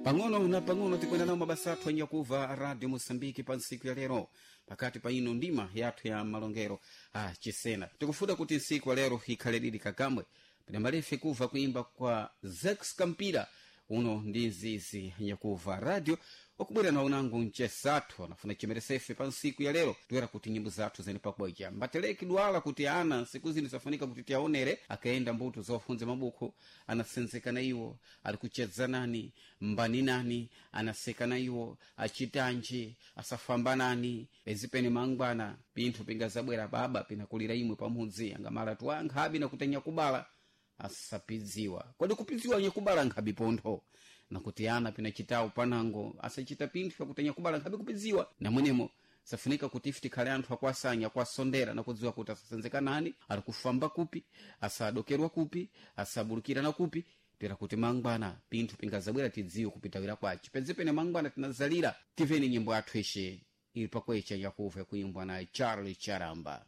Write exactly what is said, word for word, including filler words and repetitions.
Pang'ono na pang'ono tikwenda nawo mabasa athu anyakuva Radio Moçambique pa ntsiku ya lero, pakati pa ino ndima yathu ya malongero a chisena. Tikufuda kuti ntsiku ya lero ikhale lili kakamwe pinamalefe kuva kuimba kwa Zex Kampira uno ndi nzizi nyakuva radio wakubwera nawo nangu mchesathu anafuna chimeresefe pa nsiku ya lero, toera kuti nyimbo zathu zene pakubwecha mbateleki dwala kuti ana nsiku zino zafunika kuti tiaonere akaenda mbuto zofunza mabuku, anasenzeka na iwo, ali kuchedza nani, mbani nani, anaseka na iwo, achitanji, asafamba nani pezipene mangwana pinthu pingazabwera baba pinakulira imwe pamudzi angamala tuankhabi nakutenya kubala asapidziwa. Kodi kupidziwa nyakubala nkhabi pontho nakuti ana pinachitawo panango asachita pinthu pakutenya kubala nkhabi kupidziwa namwenemo safunika kuti ife tikhale anthu akwasanya, akwasondera, nakudziwa kuti asasenzeka nani, ali kufamba kupi, asadokerwa kupi, asabulukira na kupi, tera kuti mangwana pinthu pingazabwera tidziwe kupitawira kwace. Pedzepene mangwana tinazalira. Tiveni nyimbo yathu ishe ili pakwecha yakuva kuimbwa na Charlie Charamba.